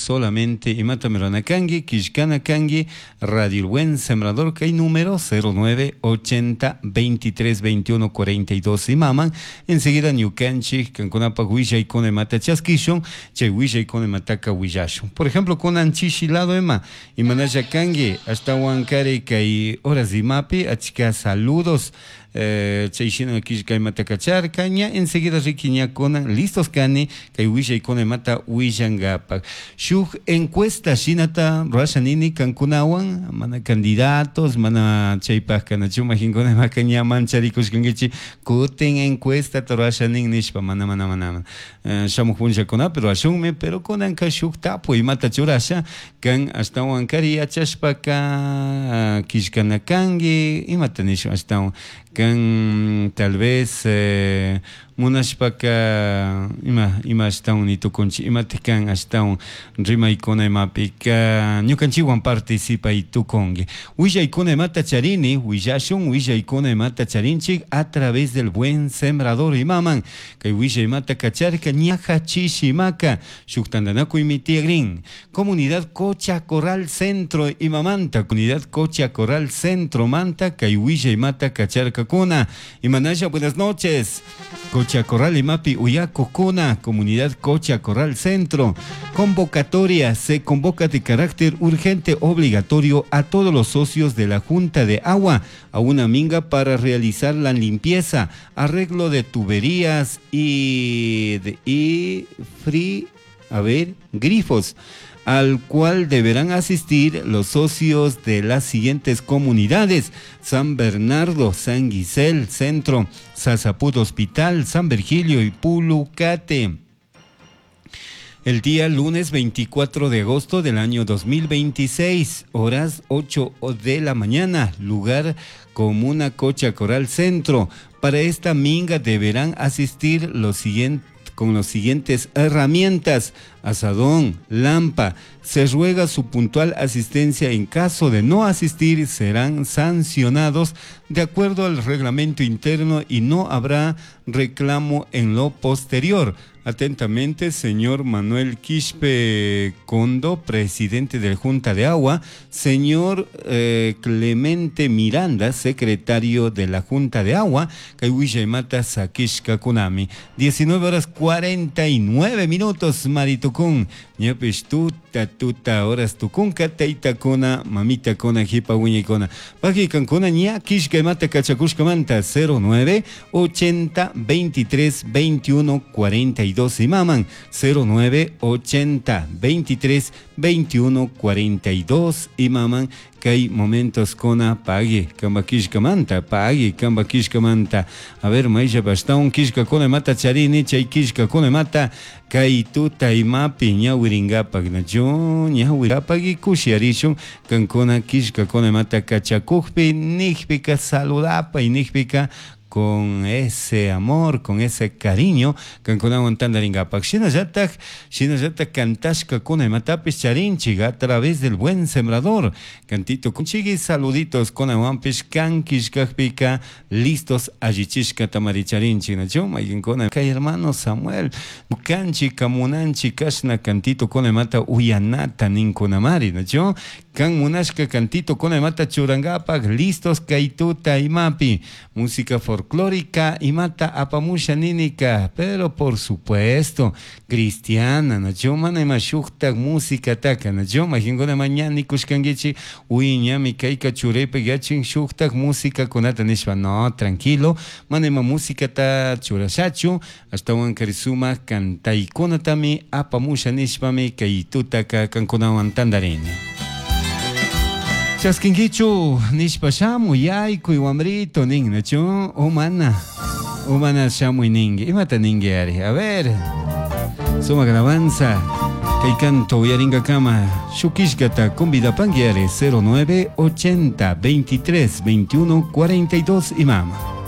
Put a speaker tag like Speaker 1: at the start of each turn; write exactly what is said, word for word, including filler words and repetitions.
Speaker 1: Solamente imata rurana kanki, killkana kanki, Radio El Buen Sembrador kay número cero nueve ochenta veintitrés veintiuno cuarenta y dos imaman. Enseguida ñukanchik kankunapak willaykuna imata chaskishun, chay willaykuna imataka willashun. Por ejemplo, kunan chishi lado ima, imanalla kanki, ashtawan kari kay horas imapi, achka saludos, eh, chay shina killka imata kacharka, ña enseguida riki ña kunan listos kani kay willaykuna imata willankapak. Shuk encuesta shinata rurasha nini kankunawan, mana candidatos, mana chaypak kanachu majinkuna imaka ña mancharikushkankichik, kutin encuesta rurasha nin nishpa, mana, mana, mana, mana. Eh, shamuj punllakunapi rurashunmi, pero kunanka shuk tapuy imata churasha, kan ashtawan kari yachashpaka killkana kanki, imata nishun ashtawan kan tal vez, eh, munashpaka ima, ima ashtawan nitukunchik, imatik kan ashtawan rimaykuna imapika ñukanchikwan participay tukunki. Willaykuna imata charini, willashun willaykuna imata charinchik a través del Buen Sembrador imaman. Kay willay imata kacharka ñaja chishi imaka shuk tantanakuymi tiyakrin. Comunidad Cocha Corral Centro imamanta, Comunidad Cocha Corral Centro manta kay willay imata kacharkakuna. Imanalla, buenas noches. Cocha Corral imapi uyakukuna, Comunidad Cocha Corral Centro. Convocatoria, se convoca de carácter urgente obligatorio a todos los socios de la Junta de Agua a una minga para realizar la limpieza, arreglo de tuberías y, de, y free, a ver, grifos, al cual deberán asistir los socios de las siguientes comunidades: San Bernardo, San Guisel, Centro, Sasaput Hospital, San Virgilio y Pulucate. El día lunes veinticuatro de agosto del año dos mil veintiséis, horas ocho de la mañana, lugar Comuna Cocha Corral Centro. Para esta minga deberán asistir los siguientes, con las siguientes herramientas: asadón, lampa. Se ruega su puntual asistencia. En caso de no asistir, serán sancionados de acuerdo al reglamento interno y no habrá reclamo en lo posterior. Atentamente, señor Manuel Quispe Condo, presidente de la Junta de Agua, señor, eh, Clemente Miranda, secretario de la Junta de Agua, kay willaymata sakishka kunami. diecinueve horas cuarenta y nueve minutos, Maritucún. Ñapish tuta, tuta, horas tucunca, teitakuna, mamitakuna, jipa wiñaykuna. Paqui kankuna, ña kishkaymata kachakushkamanta, cero nueve, ochenta, veintitrés, veintiuno, cuarenta y dos imaman, cero nueve, ochenta, veintitrés, veintiuno, cuarenta y dos imaman. Kay momentos kona pague, kamba kishkamanta, pague, kamba kishkamanta. A ver, maisha bastón, kishka kona mata charini, chay kishka kona mata, kay tuta imapi, ñawiringapak, nacho, ñawiringapak y kushiarishun, kankona kishka kona mata kachakujpi, nijpika saludapa y nijpika con ese amor, con ese cariño, kankunawan tandaringapak. Shinallatak, shinallatak kantashka kuna imatapis charinchik a través del Buen Sembrador. Cantito kunchigi, saluditos kunawanpish kankishkakpika, listos allichishka tamaricharinchik. Nacho, maykinkuna, kay hermano Samuel, kanchi kamunanchi kashna cantito kuna imata uyanata ninkunamari, nacho, kan munashka cantito kuna imata churangapak, listos kaytuta imapi, música folclórica imata apamusha ninika, pero por supuesto cristiana, nacho, mana ima shuktak música taka, nacho, majinkuna mañana kushkankichi, uy ñami kayka churepe yachin shuktak música kunata nishpa, no, tranquilo, mana ima música ta churashachu, ashtawan karisuma kantaykunatami apamusha nishpami kaytutaka kankunawan tandarini. Chaskinkichu nishpa shamuy yaykuy wamrito nin, nacho, o mana, o mana shamuy ningi, imata ningi ari, a ver, suma alabanza, kay canto uyaringa kama, shukishkata convidapangi ari, cero nueve ochenta veintitrés veintiuno cuarenta y dos imama.